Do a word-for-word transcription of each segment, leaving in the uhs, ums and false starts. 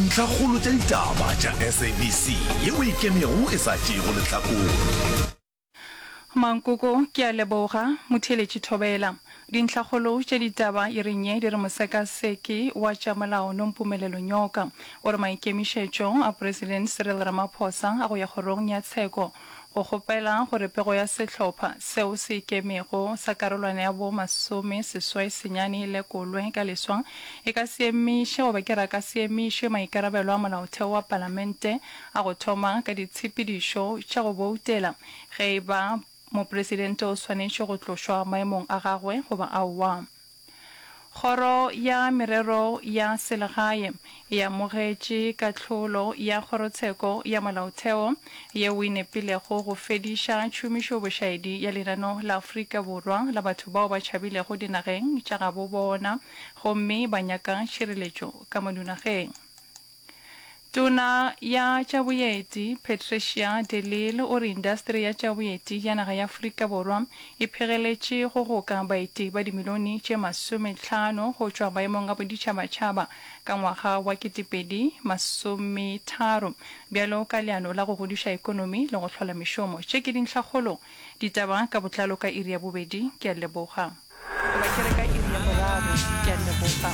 Ntlhakgolo tša ditaba tša SABC yeo e ikemego e sa tšeego lehlakore. Mankoko, Ke a leboga, motheeletši Thobela. Dintlhakgolo tša ditaba iring ye di re mosekaseki wa tša molao Nompumelelo Nyoka o re maikemišetšo a President Cyril Ramaphosa a go ya kgorong ya tsheko go kgopela gore pego ya sehlopha seo se ikemego sa karolwana ya bo masome seswai senyane e lekolwe ka leswa e ka se emiše goba ke ra ka se emiše maikarabelo a molaotheo wa palamente a go thoma ka ditshepedišo tša go boutela ge e ba mopresidente o swanetše go tlošwa maemong a gagwe goba aowa. Kgoro ya Merero ya Selegae e amogetše kahlolo ya Kgorotsheko ya Molaotheo yeo e nepilego go fediša tšhomišobošaedi ya lenano la Afrika Borwa la batho bao ba tšhabilego dinageng tša gabo bona gomme ba nyaka tšhireletšo ka mo dinageng. Tona ya tša Boeti, Patricia de Lille o re indasteri ya tša boeti ya naga ya Afrika Borwa e phegeletše go goka baeti ba dimilione tše masomehlano go tšwa maemong a boditšhabatšhaba ka ngwaga wa ketepedi masometharo bjalo ka leano la go godiša ekonomi le go hlola mešomo. Tše ke dintlhakgolo ditaba ka botlalo ka iri ya bobedi. Ke a leboga. Goba ke re ka iri ya boraro. Ke a leboga.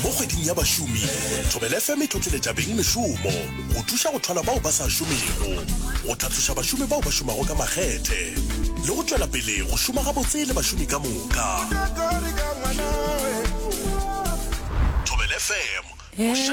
Mo kgweding ya bašomi, Thobela FM e tlotleletša beng mešomo, go thuša go thwala bao ba sa šomego, go tlhatloša bašomi bao ba šomago ka makgethe, le go tšwela pele go šoma gabotse le bašomi ka moka. Thobela FM, mošate